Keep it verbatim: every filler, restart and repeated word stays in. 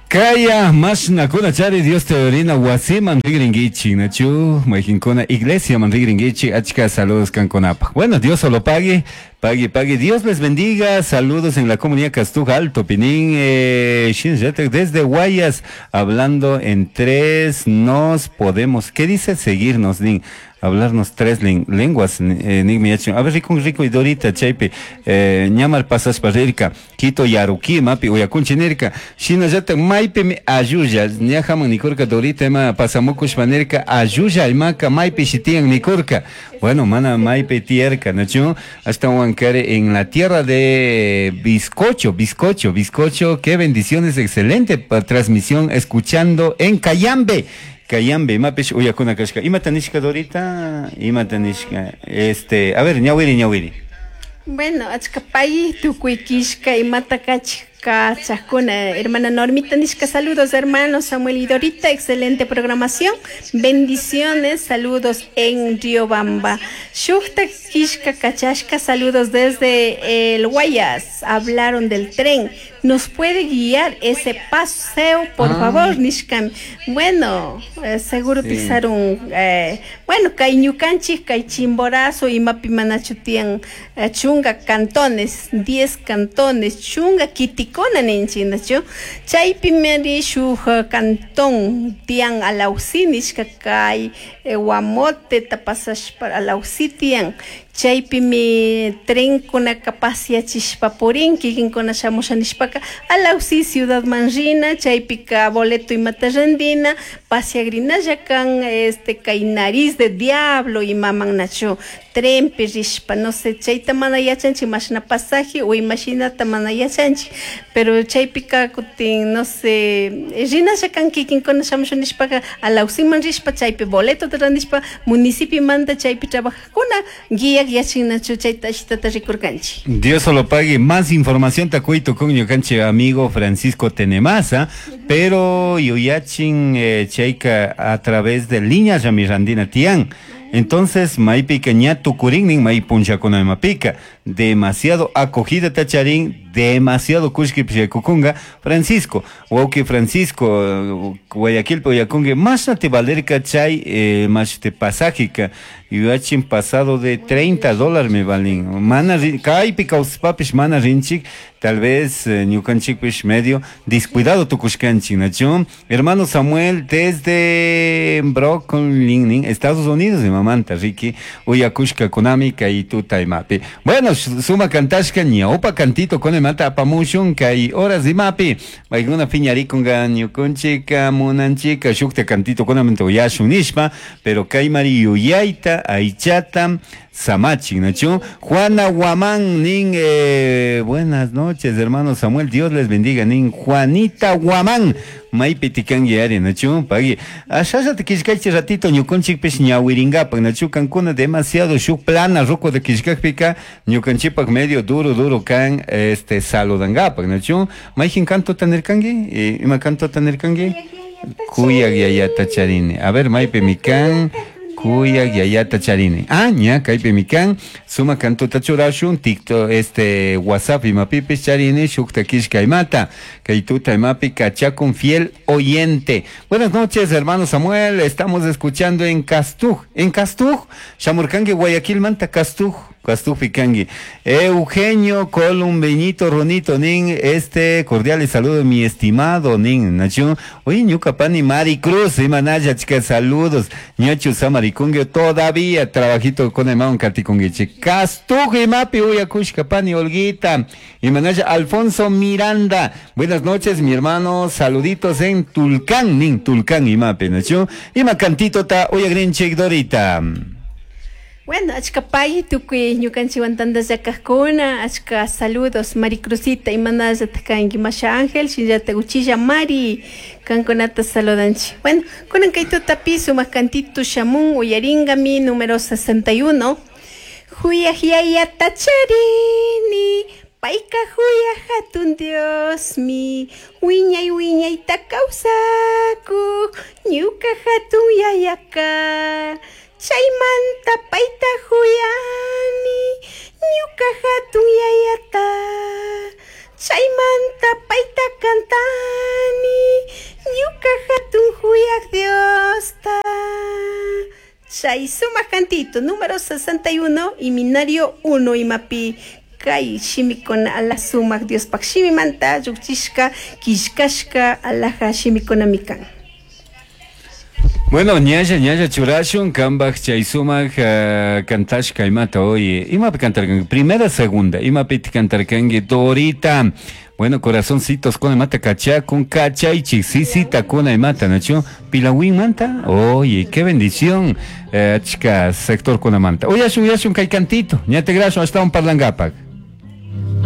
Kaya mashnakuna chari Dios teorina wasiman rigringuichi, nachu, mayqinkuna iglesia man rigringuichi, achka saludos kankunapaj. Bueno, Dios solo pague, pague, pague. Dios les bendiga. Saludos en la comunidad Castuj Alto, Pinín, eh, desde Guayas, hablando en tres nos podemos. ¿Qué dice? Seguirnos, nin. Hablarnos tres lenguas, eh, a ver, rico, rico y Dorita, chaypi, eh, ñamar pasashpa rirka, Quito Yaruki, mapi, uyakunchi nirka, shinallata maypimi ayulla, ñajaman nikurka Dorita, ima pasamukushpa nirka, ayulla imaka maypi shitiyan nikurka. Bueno, mana maypi tiyarka, nachu, hasta Huancaré, en la tierra de bizcocho, bizcocho, bizcocho, qué bendiciones, excelente transmisión, escuchando en Cayambe. Cayambe, imapish uyakuna kashka. Imata nishka Dorita, imata nishka. Este, a ver, ñawiri, ñawiri. Bueno, achka pay tukuy kishka imata kachajkuna. Hermana Normita nishka, saludos hermanos Samuel y Dorita, excelente programación. Bendiciones, saludos en Riobamba. Shukta kishka kachashka, saludos desde el Guayas. Hablaron del tren. ¿Nos puede guiar ese paseo, por ah. favor, nishkam? Bueno, eh, seguro sí. Pisaron, eh, bueno, kay ñukanchik, kay Chimborazo, imapi manachu tiyan eh, chunga cantones, diez cantones, chunga kitikuna ninchik, nachu? Chaypi mari shuk cantón tiyan Alausí nishka kay eh, Guamote tapasashpa Alausí tiyan. Chaypimi trenkunaka pasiachishpa purin, kikinkuna shamusha nishpaka Alausí ciudadman rina, chaypika boleto imata randina, pasiagrinalla kan este kay nariz de diablo imaman nachu trenpi rishpa, no sé, chayta mana yachanchik mashna pasaje o imashinata mana yachanchik, pero chaypika kutin, no sé, rinalla kan kikinkuna shamusha nishpaka Alausiman rishpa, chaypi boleto randishpa municipiomanta chaypi trabajajkuna guía yachinachu chayta ashitata rikurkanchik. Dios solo pague. Más información takuito con ñukanchik amigo Francisco Tenemasa, pero yuyachin eh, chayka a través de líneas Ramirandina tian. Entonces, maypika ña tukurinnin may punchakuna imapika. Demasiado acogida tacharín, demasiado kushki pishaykukunga. Francisco, wawki Francisco, Guayaquilpi uyakunki, mashna te valerka chay, eh, mash te pasajika, yuyachin pasado de treinta dólares me valin. Mana kaypi kawsaspapish mana rinchik, tal vez eh, ñukanchikpish medio descuidado tukushkanchik, nachu. Hermano Samuel, desde Brooklyn, Estados Unidos, de mamanta, Ricky, uyakushka kunami kay tuta imapi. Bueno, suma kantashka ñawpa cantito con imata apamushun kay horas imapi. Paykuna piñarikunga ñukunchika munanchika shukta cantito kunamanta uyashun nishpa, pero kaymari yuyayta aychata samachin, nachu. Juana Guamán, nin, eh, buenas noches, hermano Samuel, Dios les bendiga, nin, Juanita Guamán, maypi tikanki ari, nachu, pagui. Ashallata killkaychik ratito ñukanchikpish ñawirinkapak, nachu, kankuna demasiado shuk plana ruco de killkakpika, ñukanchikpak medio duro, duro kan, este, saludankapak, nachu. Mayjin cantota nirkanki? Eh, ima cantota nirkanki? Kuyak yayata charini. A ver, maypi mikan. Kuyak yayata charini. Ah, ña, kaypi mikan. Suma cantota churashun, TikTok, este, WhatsApp imapipis charini, shukta kishka imata. Kay tuta imapi kachakun fiel oyente. Buenas noches, hermano Samuel. Estamos escuchando en Castuj. En Castuj, Shamurkangi, Guayaquil, Manta, Castuj. Castuj pikangi. Eugenio Columbeñito Ronito nin, este cordiales saludos mi estimado nin, nachu. Oye, ñuka pani Mari Cruz, imanaya chica, saludos. Ñachu samarikungue todavía trabajito con el maun katikunguichi. Castuj imapi uyakushka pani Olguita. Imanaya Alfonso Miranda. Buenas noches, mi hermano, saluditos en Tulcán, nin, Tulcán imapi, nachu. Ima cantito ta uyagrinchik Dorita. Bueno, achka pay tukuy ñukanchikwan tantallakajkuna, achka saludos Maricruzita, imanallataq kanki Masha Ángel, shinallata uchilla Mari, kankunata saludanchik. Bueno, kunan kay tutapi sumaq cantito shamun uyaringami número sesenta y uno. Huyaj yayata charini, payka huyaj hatun Diosmi, wiñay wiñayta kawsakuq, ñuka hatun yayaka. Chaymanta payta huyani, ñuka hatun yayata. Chaymanta payta cantani, cantito número sesenta y uno Himnario uno imapi kay shimikuna ala sumak Diospaj shimimanta llukchishka killkashka alaja shimikunami kan. Bueno, ñalla, ñalla churashun, kambaj chay sumak uh, kantashka imata, oye, imapi kantarkanki, primera, segunda, imapi kantarkanki, Dorita. Bueno, corazoncitos con imata kachakun, kachaychik, sisita kuna imata, nachu, Pilawin manta, oye, qué bendición, eh, chica, sector kuna manta. Uyashun, uyashun kay cantito, ña tigrashun, ashtawan parlangapak.